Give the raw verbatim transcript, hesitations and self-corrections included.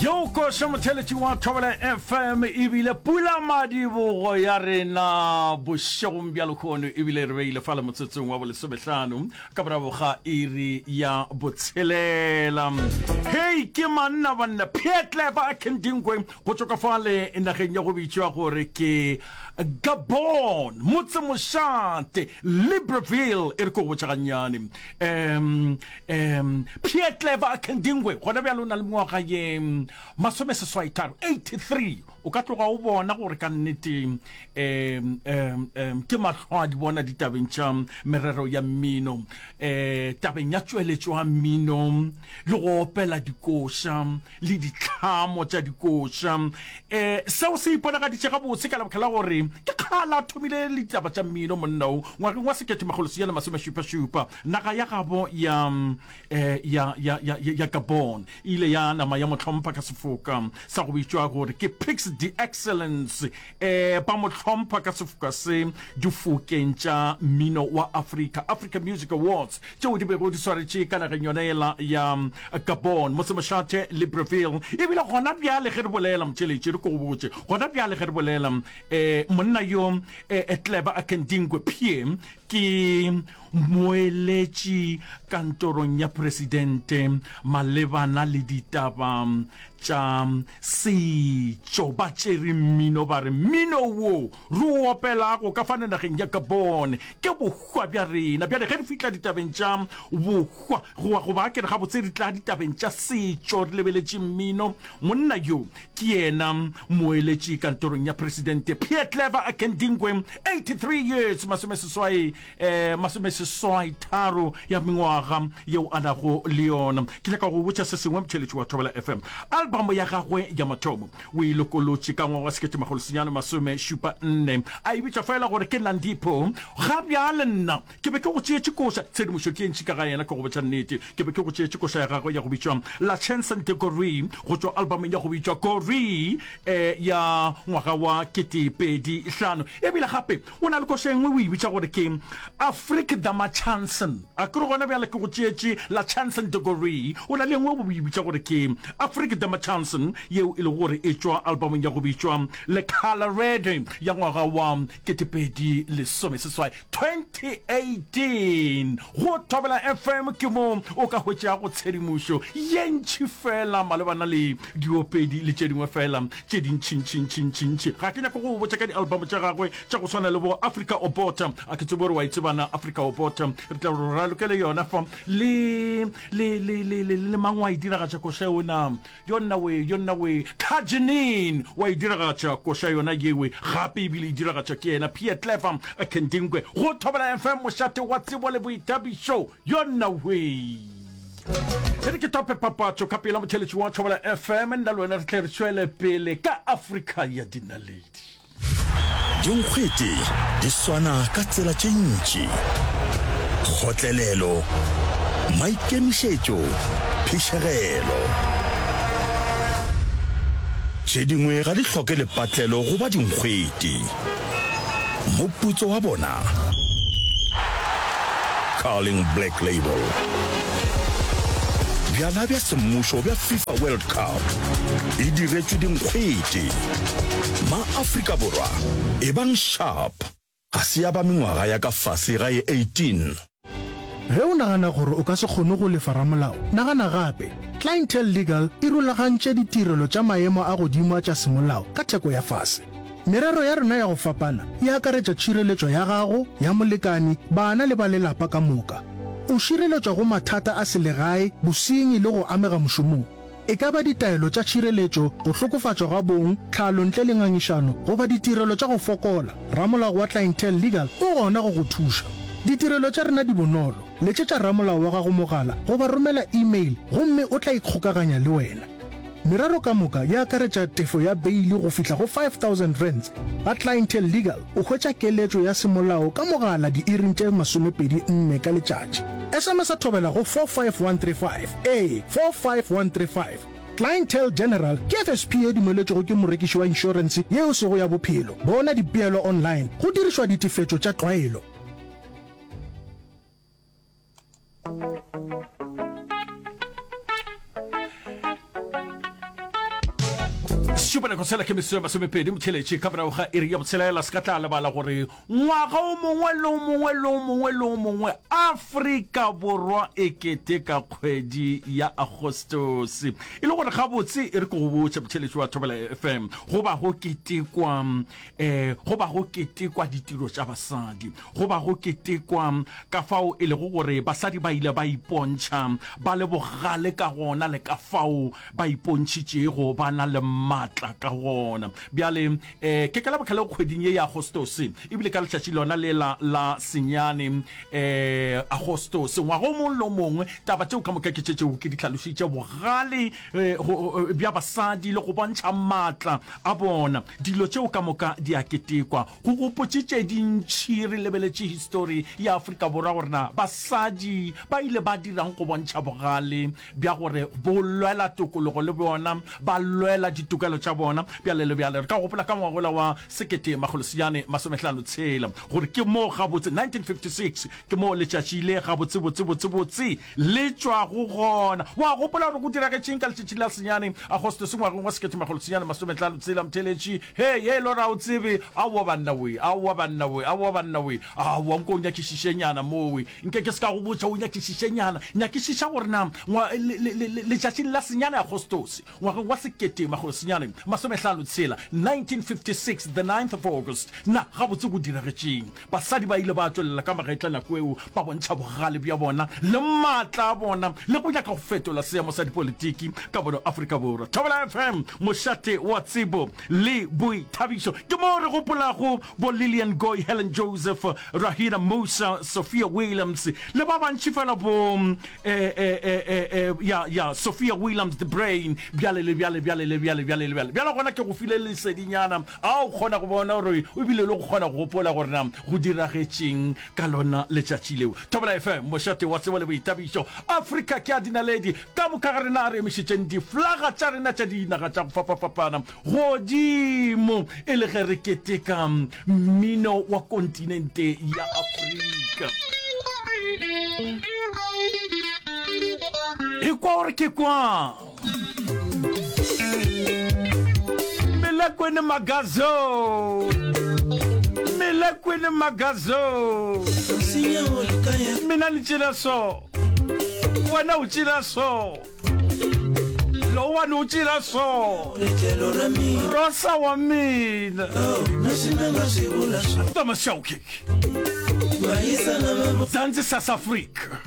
Yo koša motheletši wa Thobela F M ebile pula madibogo ya rena bošegong bja lehono, ebile re beile fale motsotsong wa bolesomehlano ka morago ga iri ya botshelela. Hei, ke manna banna, Pierre Clever Akendingwe go tšwa ka fale nageng ya go bitšwa gore ke Gabon, motsemošate Libreville. E re ko go botša gannyane, um um Pierre Clever Akendingwe gona bjale o na le mengwaga ye masomeseswaitharo, eighty-three. O ka tloga o bona gore ka nnete um um um ke mahlo a di bona ditabeng tša merero ya mmino, um tabeng ya tšweletšo ya mmino le go opela dikoša le ditlhamo tša dikoša. um seo se iponagaditše gabotse ka lebaka la gore ke kgala a thomile le ditaba tša mmino monna o ngwageng wa sekete makgolo senyane masomešupa-šupa. Naga ya gabo ya um ya ya ya ya Gabon e ile ya nama ya mo hlompha ka sefoka sa go bitšwa gore ke Prix d'Excellence. um ba mo hlompha ka sefoka se difokeng tša mmino wa Africa, Africa Music Awards, tšeo di bego di swaretše ka nageng yona yela ya Gabon, motsemošate Libreville. Ebile gona bjale ge re bolela, motšheletše, re ko go botše, gona bjale ge re bolela, um monna yo um Clever Akendingwe Pierre ke moeletši kantorong ya presidente malebana le ditaba tša setšo. Ba tšere mmino, ba re mmino wo re o opelago ka fane nageng ya Gabon ke bohwa bja rena. Bjale ge re fihla ditabeng tša bohwa, goba goba ke re gabotse re tla ditabeng tša setšo re lebeletše mmino, monna yo ke yena moeletši kantorong ya presidente, Pierre Clever Akendingwe, eighty-three years, masomeseswai um masomeseswai tharo ya mengwaga yeo a nago le yona. Ke nyaka go botša se sengwe, motheletši wa Thobela F M. Album ya gagwe ya mathomo o e lokolotše ka ngwaga wa sekete makgolo senyane masome šupa nne, a e bitša fela gore ke Nandipo. Ga bjale nna ke be ke go tšeetše koša, tshedimošo ke e ntši ka ga yena, ke go botša nnete. Ke be ke go tšeetše koša ya gagwe ya go bitšwa La Chanson de Gorée go tšwa albumeng ya go bitšwa Gorée eh, ya ngwaga wa kete pedi hlano. Ebile gape o na le koša e nngwe o e bitša gore ke Afrique da ma Chanson. A ke re gona bjale ke go tšeetše La Chanson de Gorée, o na le e nngwe o e bitša gore ke Afrique da ma Chanson yeo e lego gore e tšwa albumeng ya go bitšwa Le Colorado ya ngwaga wa kete pedi lesome seswai, twenty eighteen. Go Thobela F M ke mo o ka hwetšago tshedimošo ye ntši fela malebana le diopedi le tše dingwe fela tše dintšintšintšintšintši. Ga ke nyake go botša ka di-album tša gagwe tša go swana le bo Africa Obota, a ke tsebe gore wa e tsebana Africa Obota, re tla re ralokele yona fa le le le le le le mang wa e diragatša koša yona yona we yona we Kajenin wa e diragatša koša yona yewe gape, ebile e diragatša ke yena Pierre Clever Kendingwe. Go Thobela F M, mošate wa tsebo le boithabišo, yona we. E re ke tope papatšo ka pela, motheletši wa Thobela F M, nna le wena re tle re tšwele pele ka Afrika ya Dinaledi. Dinkgwete di swana ka tsela tše ntši: kgotlelelo, maikemišetšo, phišegelo. Tše dingwe ga di hloke lepatlelo go ba dinkgwete. Moputso wa bona? Carling Black Label. Bjala bja semmušo bja FIFA World Cup e diretšwe dinkgwete. Ma-Afrika Borwa, ebang sharp! Ga se ya ba mengwaga ya ka fase ga ye eighteen. Ge o nagana gore o ka se kgone go lefa ramolao, nagana gape. Clientele Legal e rulagantše ditirelo tša maemo a godimo a tša semolao ka theko ya fase. Merero ya rena ya go fapana e akaretša tšhireletšo ya gago, ya molekani, bana le ba lelapa ka moka. O šireletšwa go mathata a selegae, bosenyi le go amega mošomong. E ka ba ditaelo tša tšhireletšo, go hlokofatšwa ga bong, tlhalo ntle le ngangišano, goba ditirelo tša go fokola, ramolao wa Clientele Legal o gona go go thuša. Ditirelo tša rena di bonolo. Letšetša ramolao wa gago mogala goba romela email gomme o tla ikgokaganya le wena. Merero ka moka e akaretša tefo ya beili go fihla go five thousand rands. Ga Clientele Legal o hwetša keletšo ya semolao ka mogala diiring tše masomepedi nne ka letšatši. S M S a thobela go four five one three five, ee, four five one three five. Clientele General ke F S P e dumeletšwego ke morekiši wa inšorense yeo e sego ya bophelo. Bona dipeelo online go dirišwa ditefetšo tša tlwaelo. Šupanako tshela ke metsotso e masomepedi motheletši ka morago ga iri ya botshelela. Se ka tla lebala gore ngwaga o mongwe le o mongwe le o mongwe le o mongwe Afrika Borwa e keteka kgwedi ya Agostose. E le gore gabotse e re ke go botše motheletši wa Thobela F M, go ba go ketekwa um go ba go ketekwa ditiro tša basadi, go ba go ketekwa ka fao e lego gore basadi ba ile ba ipontšha ba le bogale ka gona le ka fao ba ipontšhitšego ba na le maatla ka gona. Bjale, um ke ka lebaka leo kgweding ye ya Agostose, ebile ka letšatši lona lela la senyane, um Agostose, ngwaga o mongwe le o mongwe, taba tšeo ka moka ke tše tšeo ke di hlalošitše, bogale bja basadi le go bontšha maatla a bona, dilo tšeo ka moka di a ketekwa. Go gopotše tše dintši re lebeletše histori ya Afrika Borwa gore na basadi ba ile ba dirang go bontšha bogale bja gore bo lwela tokologo le bona ba lwela ditokelo tša bona. Bjale le bjale re ka gopola ka ngwagola wa sekete makgolo senyane masomehlano tshela gore ke moo gabotse nineteen fifty six ke moo letšatši le gabotse botse botse botse le tšwago gona. Wa gopola gore go diragetšeng ka letšatši la senyane Agostose ngwageng wa sekete makgolo senyane masomehlano tshela? Motheeletši, Hei, hei, Lora, o tsebe, aowa banna we, aowa banna we, aowa banna we, aowa, nko o nyakišišenyana mowe. Nke ke se ka go botša, o nyakišišenyana. Nyakišiša gore na ngwa, le, le, le, letšatšing la senyane Agostose, ngwageng wa sekete makgolo senyane masomehlano tshela, nineteen fifty six, the ninth of August, na gabotse go diragetšeng. Basadi ba ile ba tšwelela ka magetla nako eo, ba bontšha bogale bja bona le maatla a bona le go nyaka go fetola seemo sa dipolitiki ka bono Afrika Borwa. Thobela F M, mošate wa tsebo le boithabišo. Ke moo re gopolago bo Lillian Goy, Helen Joseph, Rahina Moosa, Sophia Williams le ba bantši fela bo eh, eh, eh, eh, eh, ya, ya, Sophia Williams the Brain, bjale le bjale, bjale le bjale, bjale le bjale. Bjale gona ke go file lesedinyana a o kgona go bona gore o bile le go kgona go gopola gore na go diragetšeng ka lona letšatši leo. Thobela F M, mošate wa tsebo le boithabišo. Afrika ke a dinaledi, ka moka ga rena a re emišetšeng diflaga tša rena tša dinaga tša go fapafapana godimo e le ge re keteka mmino wa kontinente ya Afrika. Ekwa gore ke kwang. Melekwene Magazo, Melekwene Magazo. Mina ni tšela so, wena o tšela so, lowani o tšela so, Rosa wa mina. Thomas Shawkick, Zanzi South Africa.